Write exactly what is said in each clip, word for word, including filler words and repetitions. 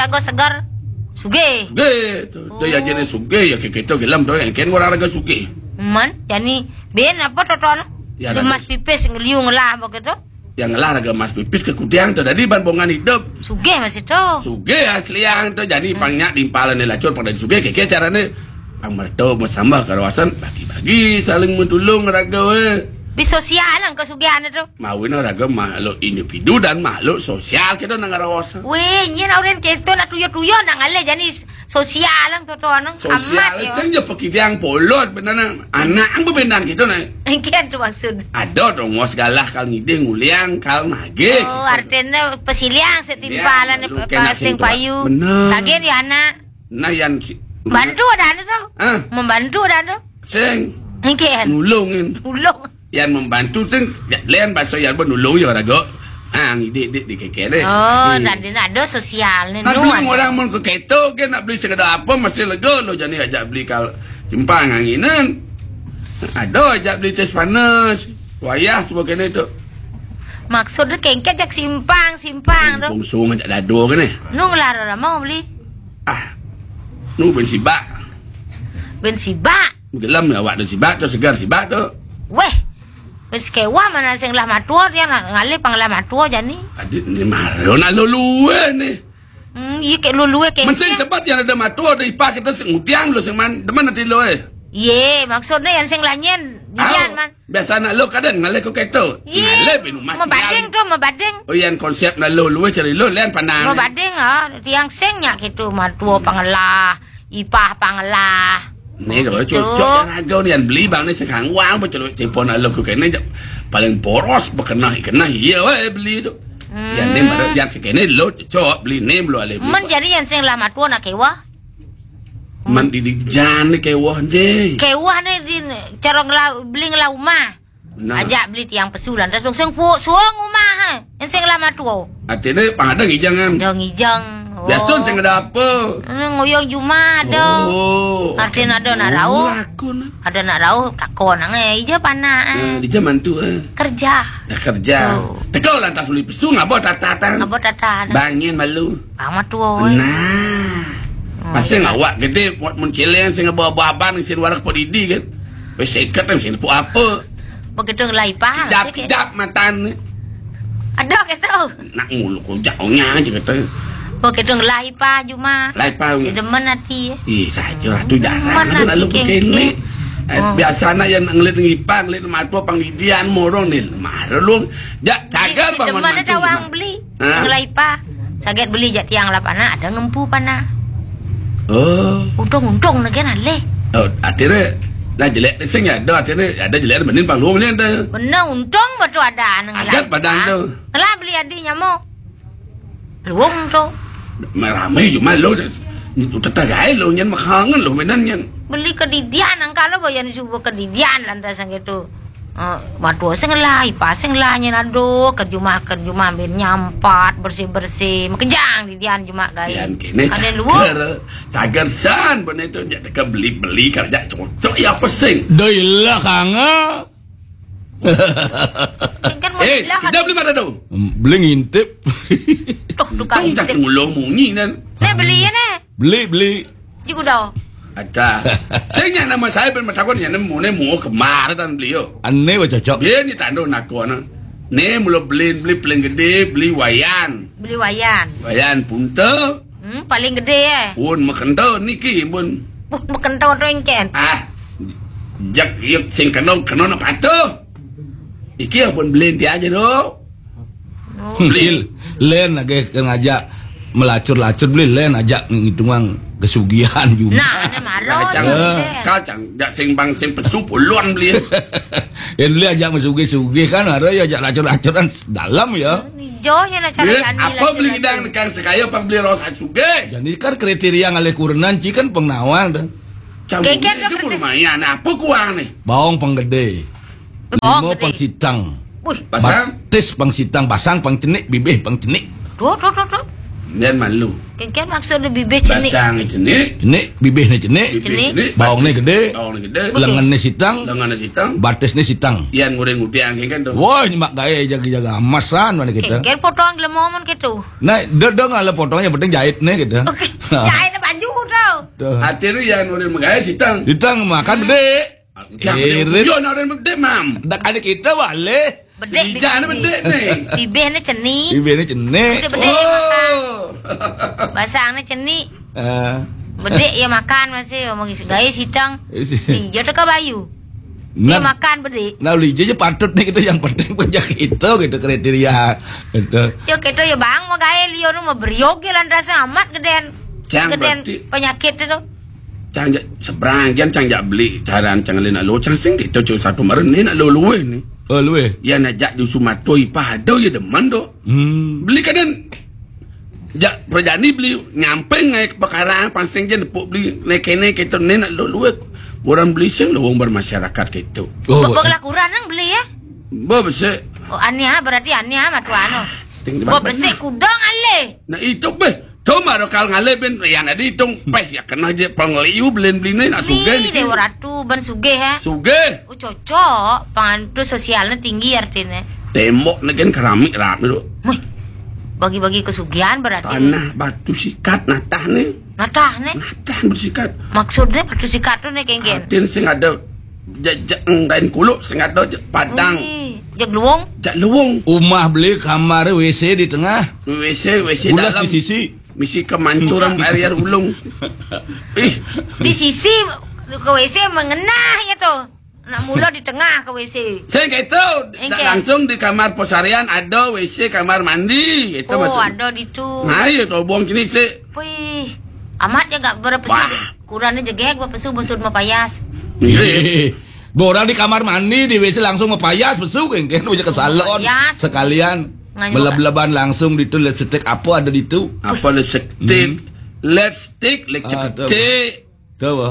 raga seger. Sugih. Sugih. To, to ya jenis sugih, ya kéto gelem to, yang kén orang raga sugih. Man, jani bin apa to, to, anu? Ya, raga Mas pipis ngeliu ngelah begitu. Yang ngelah raga mas pipis ke kudiang to, dadi ban bongan idup. Sugih masih to. Sugih asliang to, jani pang nyak diimpalan lacur pang dadi sugih, kéké carané. Pang merto mesambah karaosan, bagi-bagi, saling mentulung raga wé. Bi sosial nang kesugihan to. Mawin raga makhluk individu dan makhluk sosial kita nang karaosan. Wéh, nyén orang kéto nak tuyo-tuyo nang alé jani sosial nang to, to, nang sosial amat, ya. Sing ja pakidiang polot bener nang. Anak ang bebenan gitu nah. Engkian to maksud. Ada dong ngos galah kal ngidih nguliang kal nagih. Oh, artinya pesiliang setimpalan. Iya, lu kena sing payu. Bener. Tagih di anak. Nah, yan ki-, bantu ada anu to. Ah. Membantu ada to. Sing. Engkian. Nulungin. Nulung. Yan membantu sing, ya, lain bahasa yan pun nulung ya raga. Ah, ngidih-idih di kéké deh. Oh, hmm. Tadi ada sosial nih. Nah, dulu orang mun ke kéto, ké nak beli segala apa masih lega lo jani ajak beli kal simpang anginan. Ada ajak beli tes panas. Wayah sebagainya itu. Maksudnya kengket jak simpang, simpang to. Pungsung ajak dado kan eh. Nu ngelar orang mau beli. Ah. Nu bin sibak. Bin sibak. Gelem ya awak tu sibak tu, segar sibak tu. Wéh. Wis kéwah mana sing lah matua dia ngalih pang lah matua jani. Adi ni maro nak lulué ni. Hmm, iya kék lulué kék. Men sing sebab yang ada matua ada ipah kita sing utiang lu sing man, demen ati lu eh. Iya, maksudnya yang sing lah nyén, bian man. Biasa nak lu kadang ngalih ku kéto. Iya. Ngalih bin rumah mabading tiang. Tu, mabading. Oh, yang konsep nak lu, lu cari lu, lain pandang. Mabading, ah, tiang sing nyak kéto, matua pangelah, ipah pangelah. Nih, kalau gitu. Cocok yang raga ni, yang beli bang ni sekarang wang, apa celuk cipon nak lu ku kéné, paling boros, berkenah, kenah, iya, weh, beli tu. Hmm. Yang ni, mana, yang sekéné, lu cocok, beli ni, belum alih beli. Men jadi yang sing lah matua nak kéwah. Man di, di jan ni kéwah ni. Kéwah ni di cara ngela-, beli ngelah rumah. Nah. Ajak beli tiang pesu lantas wong sing pu-, suwung rumah, eh. Yang sing lama tuo. Artinya pang ada ngijang kan? Ada ngijang. Biasa tu sing ada apa? Hmm, nguyung jumah ada. Oh. Artinya ada nak rauh. Laku nah. Ada nak rauh takon nang eh ija panah, eh. Nah, di zaman tu eh. Kerja. Nah, kerja. Tu. Teka lantas beli pesu ngaba tatatan. Ngaba tatatan. Bangin malu. Pang matua. Nah. Hmm. Pasal awak gedé buat mun keleng sing aba-aban sing warak po didi kan. Wis seket kan sing nepuk apa. Begitu ngelai paham. Kejap-kejap matan. Ada kata. Nak ngulu ko jauhnya aja kata. Begitu ngelai pah juma. Lai pah. Si demen hati. Ih, saja ratu jarang. Demen tu hati lalu keng-, kene. Eh, oh. Biasa nak yang ngelit ngipang, ngelit matua pang didian morong ni. Marah lu. Jak cagar bangun mantu. Demen ada wang beli. Ha? Ngelai pah. Saget beli jak tiang lapan ada ngempu panah. Oh. Untung-untung nak kena leh. Oh, akhirnya nah jelek ni sing ada akhirnya ada jelek benin pang luang ni ada. Benar untung betul ada nang agat padan tu. Ngelai beli adi nyamo. Luang tu. Ramai cuma lo tetangga lo nyan makangen lo menan nyan. Beli kedidian angka lo boyan subuh kedidian lantas gitu. Eh, matua sing lah, ipah sing lah nyen aduh, ke jumah, ke jumah bin nyampat, bersih-bersih, makejang di dian jumah gai. Dian kene ada luar. Cagar, cagar san, bener tu, jak teka beli-beli, kerja cocok, ya apa sing? Doi lah kanga. Sing kan mau eh, bilang kita beli mana tu? Hmm, beli ngintip. Tuh, tukang. Tung cak ngintip. Sing ulo munyi nan. Nih, beli ya, nih. Beli, beli. Juga dah. Ada. Sing yang nama saya bin matakon yang nemu, nemu kemar tan beli yo. Ane ba cocok. Bin ni tando nak ko ana. Ni mula beli, beli paling gede, beli wayan. Beli wayan. Wayan punta. Hmm, paling gede eh. Pun makenta niki pun. Pun makenta tu engken. Ah. Jak yuk sing kena, kena nak patuh. Iki pun beli ti aja tu. Oh. Beli. Len lagi ke ngajak melacur-lacur beli len ajak ngitungan kesugihan juga. Nah, ada marah. Kacang, eh. Kacang, jak sing bang sing pesu puluhan beli. Yang beli ajak mesugih-sugih kan, ada ya ajak lacur-lacuran dalam ya. Jonya nak cara eh, apa beli gedang nekan sekaya apa beli rosak sugih. Jadi kan kriteria ngalih kurenan ci kan pengnawang dah. Campur ke lumayan, apa kuang ni? Bawang penggede. Bawang lima gede. Pang sitang. Wih. Basang? Batis pang sitang, basang pang cenik, bibih pang cenik. Tuh, tuh, tuh, tuh. Yan malu. Kengken maksud dia bibih cenik. Basang cenik. Cenik, bibihnya cenik. Bibih cenik. Cenik. Baongnya gede. Baongnya gede. Lengannya sitang. Lengannya sitang. Batisnya sitang. Yan ngureng ngudiang kengken tuh. Wah, ini mak gaya jaga-jaga emasan mana kita. Kengken potongan gelem momon gitu. Nah, dia, dia nggak ada potongnya, yang penting jahit nih gitu. Oke. Jahit baju tuh. Tuh. Artinya yan ngureng megaya sitang. Sitang makan gede. Irit. Yo, nak orang bedek, Mam. Dak ada kita balik. Bedek, ijana bedek nih. Bibihnya cenik. Bibihnya cenik. Bedek, bedek, makan. Basangnya cenik. Eh. Bedek ya makan masih, omong gaya sitang. Isi. Iya, teka bayu. Dia makan bedek. Nah, lija aja patut nih kita, yang penting punya kita gitu, kriteria gitu. Yo, kita ya bang, mau gaya liyo nu mau beryoge lan rasa amat gedean. Gedean berarti penyakit itu. Cang ja-, seberang, kian cang jak beli, caran cang lena lo, cang sing kita cuma satu meren ni nak lo luwe ni. Oh, luwe. Ya nak jak di Sumatera, ipah ada ya demen tu. Hmm. Beli kadang jak perjani beli nyamping ngai ke pekarangan, pansing je nepuk beli, naik kene kita ni nak lo luwe. Kurang beli sing lo wong bermasyarakat kita. Oh, Bo-, bo-, lah kurang nang beli ya? Bo besik. Oh, ania berarti ania matu anu. Ting di Bo besik kudang alih. Nah, itu beh. Cuma dah kal ngalih ben, yang ada hitung peh, ya kena je pengeliu belin belin nak sugih ni. Dewa Ratu, ben sugih, eh. Sugih. Oh, cocok. Pangan tu sosialnya tinggi artinya. Tembok ni kan keramik rap tu. Wih, bagi-bagi kesugihan berarti. Tanah batu sikat natah ni. Natah ni? Natah bersikat. Maksudnya batu sikat tu ni, kengken? Artinya sing ada jejak kain kuluk, sing ada je-, padang. Wih, jak luwung? Jak luwung. Rumah beli kamar W C di tengah. W C, W C dalam. Ulas di sisi. Misi kemancuran area ulung. Ih. Di sisi ke W C mengenah ya tu. Nak mula di tengah ke W C. Saya kata, tak langsung di kamar pesarian ada W C, kamar mandi. Itu oh, maksud. Ada di tu. Nah, ya tu buang kini sih. Wih, amat je gak berapa sih? Kurangnya jegek berapa sih, besut mau payas. Iya. Borang di kamar mandi, di W C langsung mau payas, besuk kan, kan, ke salon sekalian. Belab-belaban langsung di tu, lipstick apa ada di tu? Apa lipstick? Hmm. Lipstick, lipstick. Tahu apa?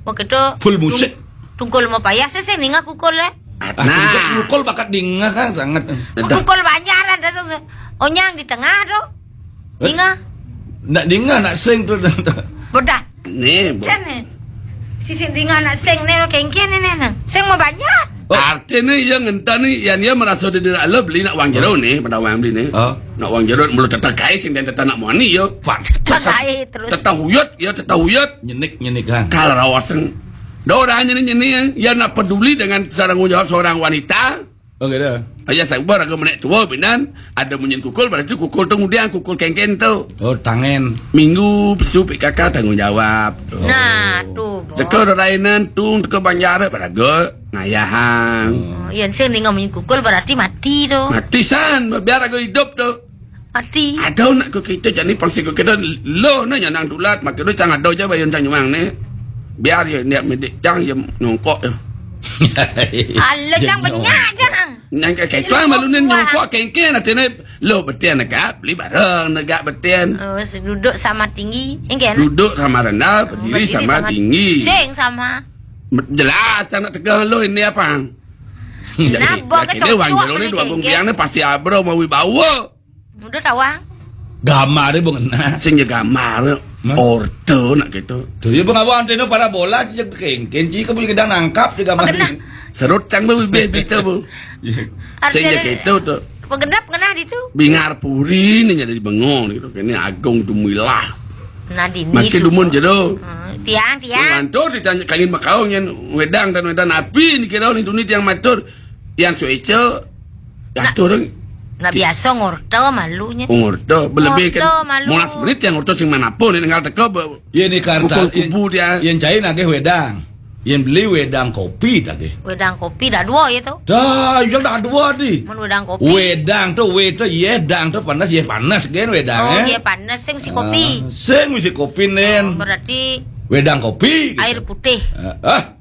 Oh, kita full musik. Tungkul mau payas sih, ninga kukul eh. Ah, nah. Tungkul bakat ninga kan sangat. Kukul banyak lah, dah. Onyang di tengah tu. Eh? Ninga. Nak ninga, nak sing tu. Bedah. Ni, bo- kan ni. Sisi dinga nak sing ni, kengken ni, ni, ni. Sing mau banyak. Oh. Arti ni, yang entah ni, yang dia merasa dia tidak love, beli nak wang jero ni, pada wang beli ni. Oh. Nak wang jero, mula tetap kai, sing dan tetap nak muani, yo. Tetap kai terus. Tetap huyut, yo, tetap huyut. Nyenik, nyenik, kan. Kalau rawaseng. Dah orang nyenik, nyenik, ya nak peduli dengan tanggung jawab seorang wanita. Okey dah. Ayah sabar aku menek tua binan, ada munyin kukul, berarti kukul tu ngudiang, kukul kengken tu. Oh, tangen. Minggu pesu P K K tanggungjawab. Nah, tu. Teka rainan tung, teka banjar beraga ngayahang. Oh, yang saya dengar munyin kukul berarti mati tu. Mati san, biar aku hidup tu. Mati. Ada nak ke kita jadi pangsi ke kita lo na nyanang tulat, maka tu cang ada je bayun cang nyumang ni. Biar je niat medik cang je nyongkok je. Alah, cang banyak je. Nang ke ketua malu ni nyongkok kengkeng, artinya lo betian negak, beli barang negak betian. Oh, duduk sama tinggi. Engke. Duduk sama rendah, berdiri sama tinggi. Sing sama. Jelas cang nak tegang lo ini apa? Jadi, wang jero ni dua bung biang ni pasti abro mau wibawa. Muda tawang. Gambar dia bung enak. Sing je gambar. Orta nak gitu. Tu je bung awang tino parabola je kengkeng je kamu gedang nangkap je gambar. Serut cang bu bibih bita bu. Sing je gitu tu. Pengedap kena di tu. Bingar puri ni jadi bengong gitu. Kini agung dumuilah. Nah, di ni. Makin dumun jero. Tiang, tiang. Ngantor ditanya kangin makaung yang wedang dan wedang api ni kira ni tuni tiang matur. Yang sueca. Nak biasa ngorta malunya. Ngorta belebih kan. Molas menit yang ngorta sing manapun ni tinggal teka. Ya ni karta. Kubu dia. Yang cair nagih wedang. Yang beli wedang kopi tadi. Wedang kopi dah dua ya tu. Dah, yang dah dua di. Mun wedang kopi. Wedang tu, we tu, ye dang tu panas, ye panas kan wedang. Oh, ye panas sing mesti kopi. Sing mesti kopi nen. Berarti wedang kopi. Air putih. Ah.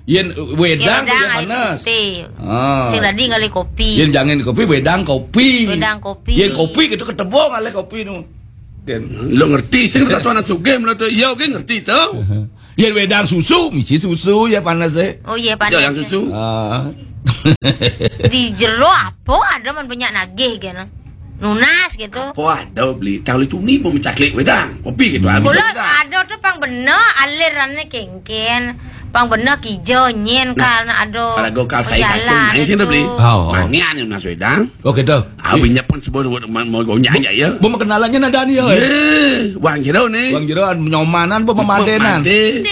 Yen wedang tu air panas. Putih. Ah. Sing tadi ngalih kopi. Yen jangan kopi, wedang kopi. Wedang kopi. Yen kopi kita ketebong ngalih kopi tu. Kan. Lo ngerti sing tak tuan sugih mula tu. Ya oke ngerti tu. Yen wedang susu, misi susu ya panas eh. Oh ya panas. Wedang susu. Ah. Di jero apa ada man banyak nagih kan. nunas gitu. Oh, ada beli tahu itu ni mau mencaklik wedang. Kopi gitu habis Mula wedang. Ada tu pang bener alirannya kengken. Pang bener kijo nyen karena ada Para gokal saya jalan takut main sini itu. Beli. Oh, oh. Mangian yang nas wedang. Oh gitu. Abis nyepun sebut mau mau gonya aja ya. Bu kenalannya nadani ya. Eh, wang jero ni. Bang Jero nyomanan bu memadenan. Made.